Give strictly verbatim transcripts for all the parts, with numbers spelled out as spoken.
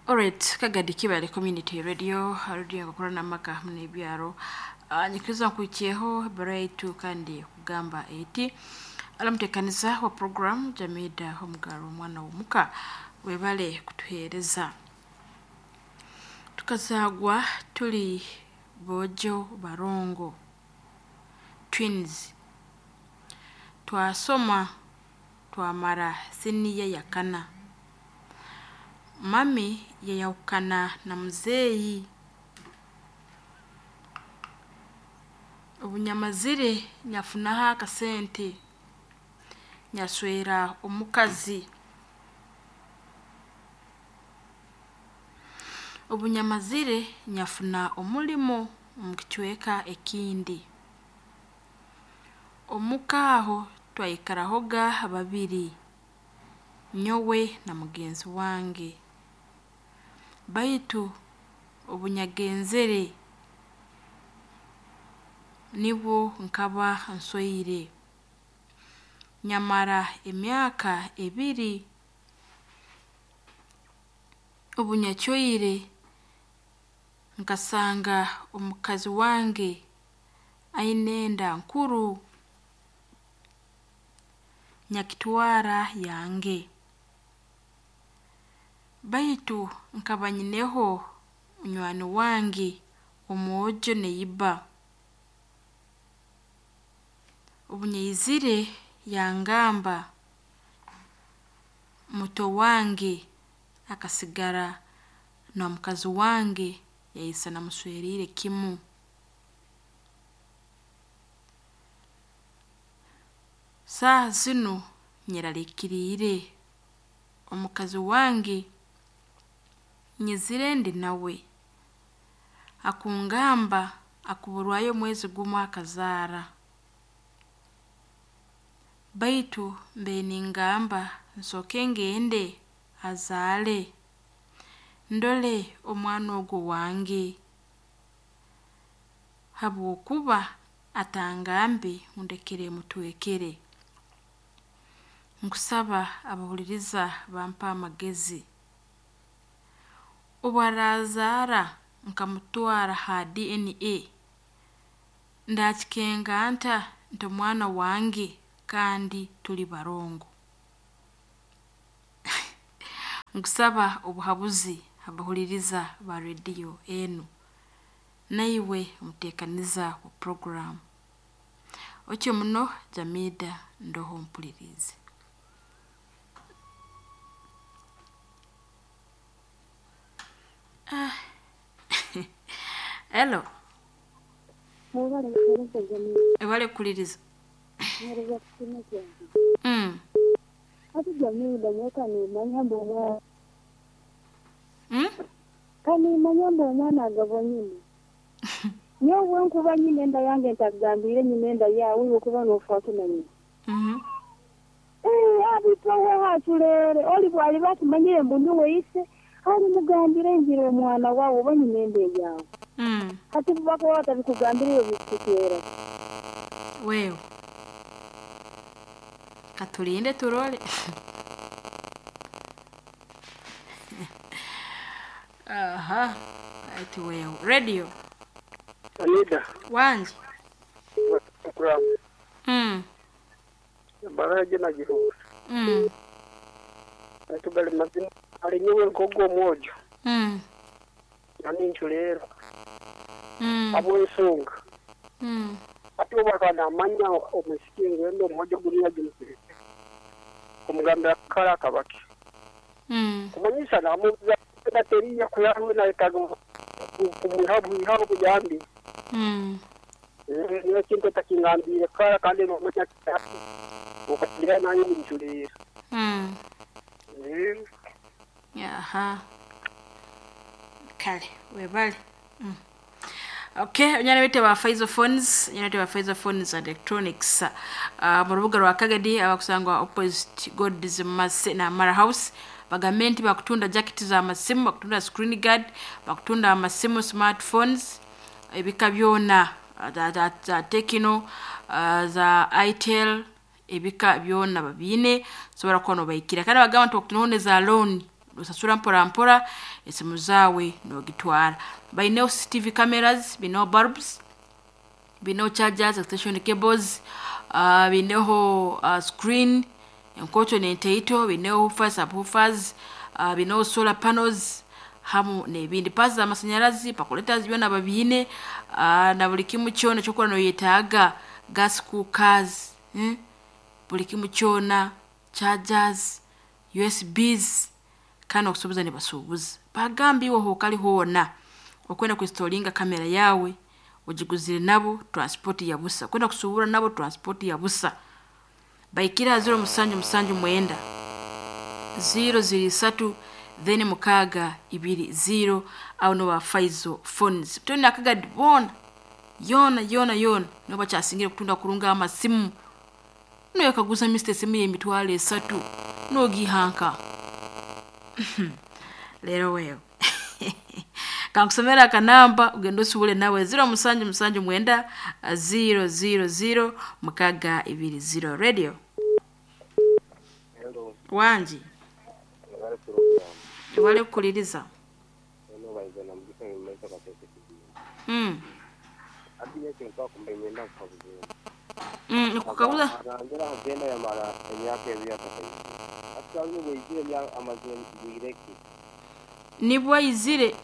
Alright, Kagadi Kibale Community Radio, radio ngakora n'amaka n'ebyaro. Uh, nyikiriza nkuikyeho ebbaruha yaitu kandi kugamba eti alamuteekaniza wa program Jamida Omugaro omwana w'omuka webale kutuheereza. Tukazaagwa tuli boojo barongo twins. Twasoma twamara siniya yakana. Mami yayahukana na muzeeyi. Obunyamazire nyafunaho akasente nyaswera omukazi. Obunyamazire nyafuna omulimo omu kicweka ekindi. Omuka aho twaikarahoga babiri, nyowe na mugenzi wange. Baitu obunyagenzere nibwo nkaba nsweire. Nyamara emyaka ebiri. Obunyacweire nkasanga omukazi wange aine enda nkuru nyakitwara yange. Baitu nkaba nyineho munywani wange omwojo neiba. Obunyaizire yangamba muto wange akasigara na mukazi wange yaisa namusweriire kimu. Saaha zinu nyeraliikiriire omukazi wange nyizire ndi nawe. Akungamba akuburwayo omwezi gumu akazaara. Baitu mbaire ningamba nsooke ngende azaale ndole omwana ogu wange habwokuba atangambe ngu ndekere mutwekere. Nkusaba abahuliriza bampe amagezi. Obu arazaara nkamutwara ha D N A, ndakikenga nta nti omwana wange kandi tuli barongo. Nkusaba obuhabuzi abahuliriza ba rediyo enu. Naiwe omuteekaniza wa puroguramu. Otyo muno Jamida ndoho mpuliriize. Ah. Hello. Mwebale kuhereza Jamida. Ebale kukuliriza. Mwereza kusima kyange. Mm. Hati Jamida nyowe kanimanya mbu omwana Mm? kanimanya mbu omwana agabwa nyina. Nyowe bwenkuba nyina enda yange ntakugambire nyina enda yaawe iwe kuba noofaaki na nyina. Mhm. Eh, abitwawe haculere oli bwaliba akimanyire mbu niwe ise alimugambira ngira omwana waawe oba nyina enda eyaawe. Mm. Hati bubakuba batabikugambire iwe bikuteera. Wewe. Katulinde turole. Aha. Ati wewe. Radio. Anida, Wanje. program. Mm. Baraje na gihuza. Mm. Atubali mazina ali nyowe nkogo omwojo. Mm. Nani nchulero. Mm. Abo ensonga. Mm. Ati obakana amanya omusiki ngendo omwojo guliya gimusirike. Kumugambira kala akabaki. Mm. Kumanyisa namubuza teriya kuyarwe na etago kumuha obuyambi. Mm. Niyo kintu takingambire kala kandi nomanya okagira nange nchulero. Mm. Eh. Aha. Kale, webale. Mm. Okay, onyana bete ba Faizo Phones, onyana bete ba Faizo Phones and Electronics. Uh, mu rubuga rwa Kagadi abakusangwa opposite God's Mercy na Mara House. Bagambe nti bakutunda jacket za masimu, bakutunda screen guard, bakutunda amasimu smartphones, ebika byona za, za, za Tecno, uh, za Itel, ebika byona babiine sobola kuba nobaikira. Kandi bagamba nti bakutundaho za loan Nosasura mpora mpora esimu zaawe nogitwara. Baineho C C T V cameras, bineho bulbs, bineho chargers, extension cables, uh, bineho uh, screen enkoto nenteito, bineho woofers, subwoofers, uh, bineho solar panels hamu nebindi, pasi z'amasanyarazi, percolators, byona babiine, uh, na buli kimu kyona kyokora noyetaaga, gas cookers, eh? Buli kimu kyona, chargers, U S Bs, kandi okusuubuza nibasuubuza. Bagamba iwe hokali hoona okwenda kuinstalinga kamera yawe ogiguzire nabo, transport ya busa. Kwenda kusuubura nabo, transport ya busa. Baikira zero musanju musanju mwenda zero ziri satu then mukaaga ibiri zero. Awo no ba Faizo Phones toni akagadi boona yona yona yona nibo bakyasingire kutunda kurunga amasimu. Noyakaguza mister esimu y'emitwalo esatu nogihanka leero. Weewe kankusomera akanamba ogenda osubule nawe, zero musanju musanju mwenda zero zero zero mukaga ibiri zero. Radio. Hello. Wangi. Bari program. Wale kukuliriza. Eno bayizana mugisa mu kasese kizibu. mm. Ati yake nkakumba imyenda kukabuze. mm. Nikukaguza. Arangera agenda yamara emyaka ebiri atakayize. Ati alino bweyizire emya amaze bwireki. Nibwo ayizire.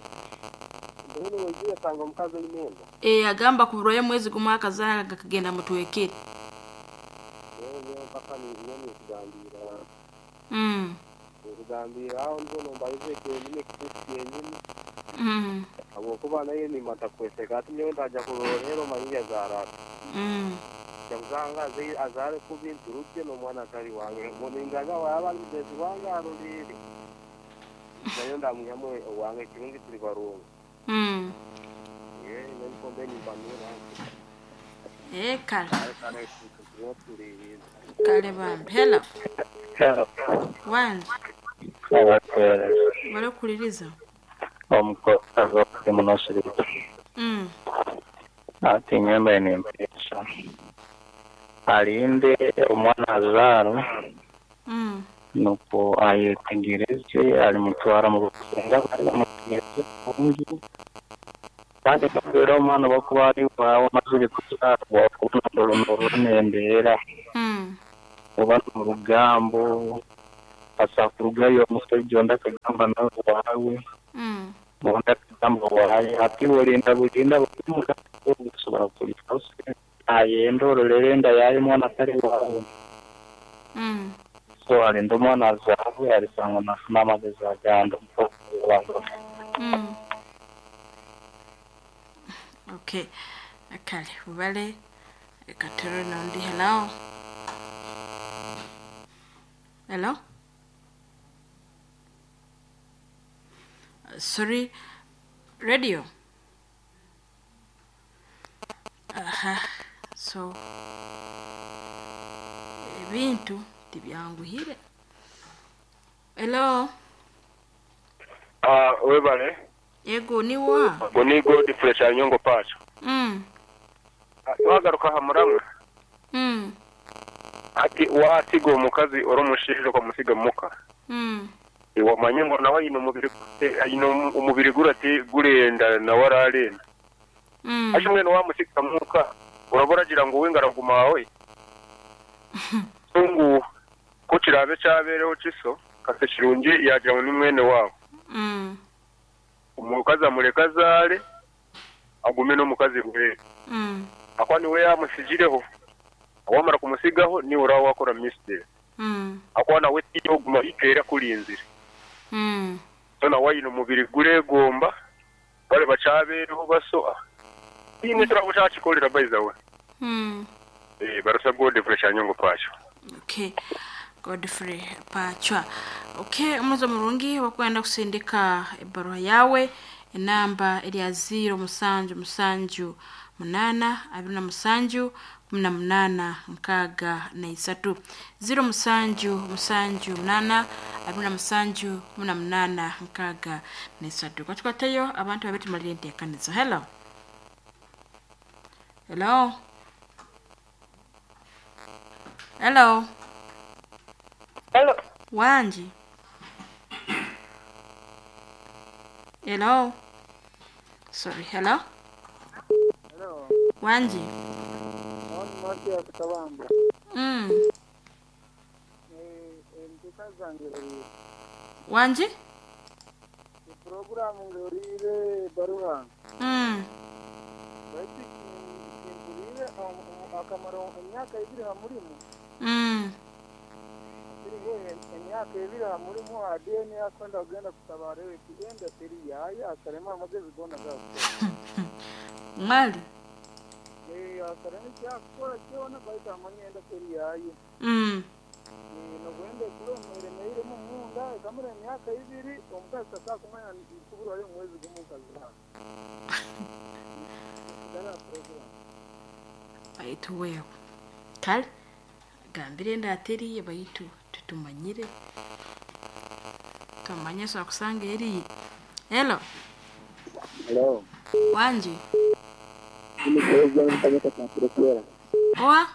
Mbona bweyizire asanga omukazi oine enda. E, agamba kuburwayo mwezi gumu akazaara gakagenda mutwekere. Rero niyo mpaka niyo nikugambira. mm. Nikugambira aho nzo nombalize kyenyini ekituufu kyenyini. mm. Habwokuba naye nimata kweseka ati nyowe ndaja kurora rero manyi yazaara ati. mm. Kyakuzanga aze- azaare kubi nturukye n'omwana atari wange. Ngo waba ari mugenzi wange arorere. Nayo ndamwihamu owange kirungi turi barungu. mm. Eh, niko nimbanura. E, kale. Kare kare turiho tuririza. Kale bambi. Hello. Hello. Wangi. Abakuweereza. Wale kukuliriza. Omukozi munosirika. mm. Ati nyembe nimpeesa alinde omwana azaarwe mm. nuko ayetegereze alimutwara mu busenga bari bamutegereze kurungi kandi kubera omwana bakuba ari wawe amazire kuzaarwa okubona embeera mm. oba mu rugambo asa kurugayo omusajja ondi akagamba nawe waawe, mm. ondi akagamba waaye. Ati olinda bulinda busobola kulika ayenda orolera enda yaye omwana atari waawe. mm. So alinda omwana azaarwe alisanga nafuna amagezi agandi. Mm. Okay, kale bubale katero nondi. Hello, hello. Uh, sorry radio. Aha, so ebintu tibyanguhire. Hello. Ah, webale. Yego, niwa. Ngo ni Godfrey Kyanyongo Pacho. mm. Twagaruka ha muramwe. Mm. Ati wasiga omukazi ori omushaija okamusiga muka. Mm. Wamanye ngo nawe aine omubiri aine omubiri gurati gurenda nawe ararenda. Mm. Ashi mwene wamusiga muka uraba uragira ngo we ngaraguma awe. So ngu ko kirabe kyabereho kiso kase kirungi yagira ngo ni mwene wabo. Mm. Omukazi amureka azaare agume n'omukazi bwere. Mm. Akwa niwe yamusigireho wamara kumusigaho niwe uraba wakora mistake. Mm. Akwa nawe tiyoguma ikeera kurinzire. Mm. So nawe aine omubiri guregomba bari bakyabeereho baso tiine turaba kyakikorera by the way. Mm. Eh, barusa Godfrey Kyanyongo Pacho. Okay, Godfrey Pachwa. Okay, omuzo murungi wakwenda kusindika ebaruha yawe, enamba eri ziro musanju musanju munana abiri na musanju kumi na munana nkaaga na isatu, ziro musanju musanju munana abiri na musanju kumi na munana nkaaga na isatu. Kwatukwatayo abantu babiri tumalire enteekanizo. Hello, hello, hello. Hello. Wangi. Hello. Sorry, hello. Hello. Wanji. On Mathias Kabamba. Mm. Eh, ntikaza Wanji? Programu ngorire baruha. Mm. Baitu kimpurire akamaro emyaka ebiri ha murimu. Mm. Kiriho emyaka ebiri ha murimu adeni akwenda kugenda kutabara eti enda teri yaya akarema amagezi gona gakukora. Mwali. Eh, akarema ekyakukora kyona baitu amanye enda teri yaye. Mm. Nogwenda ekuremeremeiremu munda ekamara emyaka ibiri omukazi tasakumanya kuburwayo omwezi gumu nkazira. Baitu wewe. Kale gambire ndateriye baitu tutumanyire. Tumanye so akusanga eri. Hello. Hello. Wanji. Mimi kwa mkanyota cha Turkera. Oa?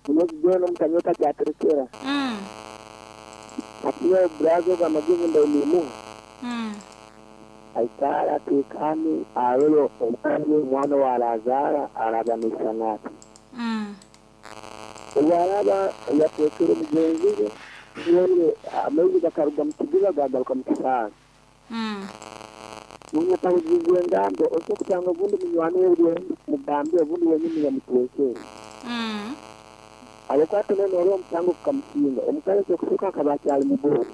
Mimi mkanyota cha Turkera. Mm. Akiwa brazo ga majibu ndo nimu. Mm. Aikara tekani arolo omwana omwana wa Lazara araganisha nati. Mm. Obwaraba yatekere mugenzi we wewe amaizi gakaruga mu kidiba gagaruka mu kisanga. Mm. Munyatawuzizwe engambo osobola kutanga obundi munywani we mugambe obundi wenyini yamutwekere. Mm. Abakwata nene oli omusango gukamusinga omukazi okusooka akaba akyali muboozi.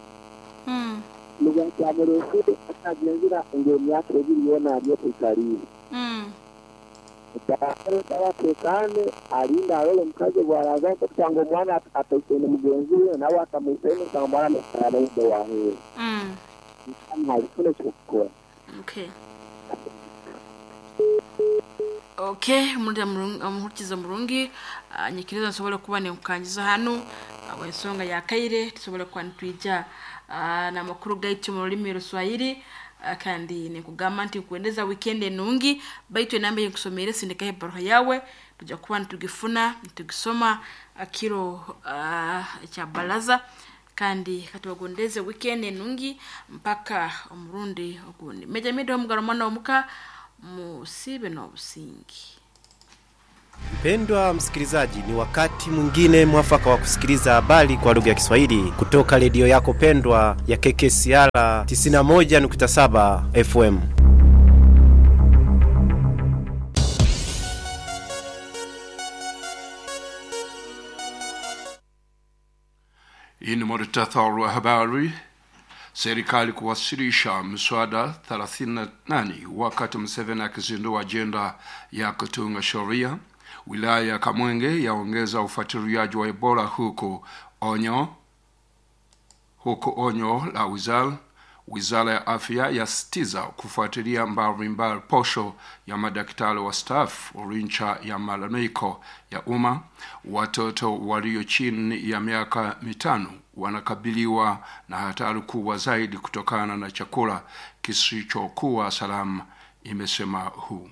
Mm. Nubwakyamureesire akagenzera ng'emyaka ebiri yoona ari okwikaliire. Mm. Atekane alinda arole omukazi bw'araza kusanga omwana ataisene mugenzi we nawe akamwitaine kusanga omwana naide waheeru. Mm. Nalifuna ekyokukora. Okay. Okay, mulira murungi omuhurikiza murungi uh, nyikiriza nsobole kuba nenkukangiza hanu uh, ensonga ya kaire tusobole kuba nitwija uh, n'amakuru gaitu mu rulimi ruswahili uh, kandi nikugamba nti nkuendeza weekend enungi baitu enamba yenkusomere sindikaho ebaruha yawe tujja kuba nitugifuna nitugisoma akiro uh, ekya baraza kandi katubagondeze weekend enungi mpaka omurundi ogundi meja mido omugaro mwana omuka musibe n'obusingi. Mpendwa msikilizaji, ni wakati mwingine mwafaka wa kusikiliza habari kwa lugha ya Kiswahili kutoka redio yako pendwa ya K K C R tisini na moja nukta saba F M. Hii ni muhtasari wa habari. Serikali kuwasilisha mswada thelathini na nane wakati Museveni akizindua ajenda ya kutunga sheria. Wilaya ya Kamwenge yaongeza ufuatiliaji wa Ebola huku onyo huku onyo la wizara Wizara ya Afya yasitiza kufuatilia mbalimbali posho ya madaktari wastaafu licha ya malalamiko ya umma. Watoto walio chini ya miaka mitano wanakabiliwa na hatari kubwa zaidi kutokana na chakula kisichokuwa salama, imesema W H O.